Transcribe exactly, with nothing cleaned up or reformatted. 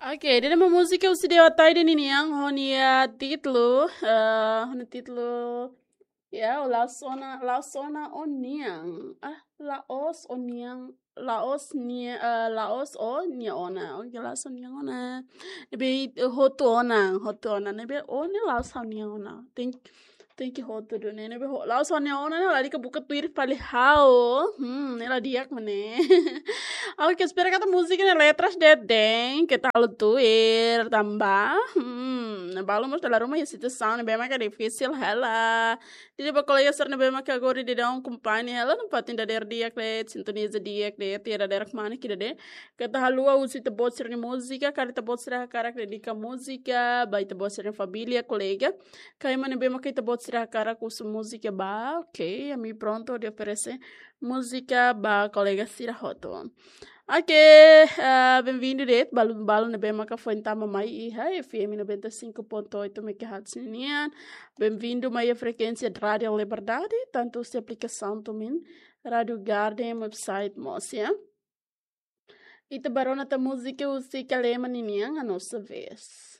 Ok, ida-ne'e mak múzika husi Dewa Taide ninian, ho nia títulu, eh, ho nia títulu, ya, o la'ós ona, la'ós ona ó-nian. Ah, la'ós ó-nian, la'ós nia, eh, la'ós ó-nia ona. Ok, la'ós ó-nian ona. Ne'ebé, eh, hotu ona, hotu ona. Ne'ebé ó ne'e la'ós ha'u-nian ona. Tenke, tenke hotu duni ne'e. Ne'ebé ho-, la'ós ó-nia ona ne'e, lalika buka tuir fali ha'u. Hmm, ne'e la di'ak mak ne'e. Ok, espera katak múzika ne'e letras de'it de'it, keta halo tuir, tanba, hmm, balu mós dala ruma iha situasaun ne'ebé maka difisil hela. Ida-ne'e ba kolega sira ne'ebé maka agora daudaun akompaña hela, nafatin dadeer di'ak de'it, sintoniza di'ak de'it, iha dadeer kmani kida de. Keta haluha husu ita-boot sira-nia múzika, karik ita-boot sira hakarak dedika múzika ba ita-boot sira-nia família, kolega. Ka ema ne'ebé maka ita-boot sira hakarak husu múzika ba, ok, ami prontu hodi oferese múzika ba kolega sira hotu. Ok, ah, benvindu de'it, balu-balu ne'ebé maka foin tama mai iha F M noventa e cinco ponto oito megahertz nian. Benvindu mai iha frekuénsia Rádio Liberdade, tantu husi aplikasaun tumin, Rádio Garden, website mós, ya. Ita bá rona tan múzika husi Kalema ninian, A Nossa Vez.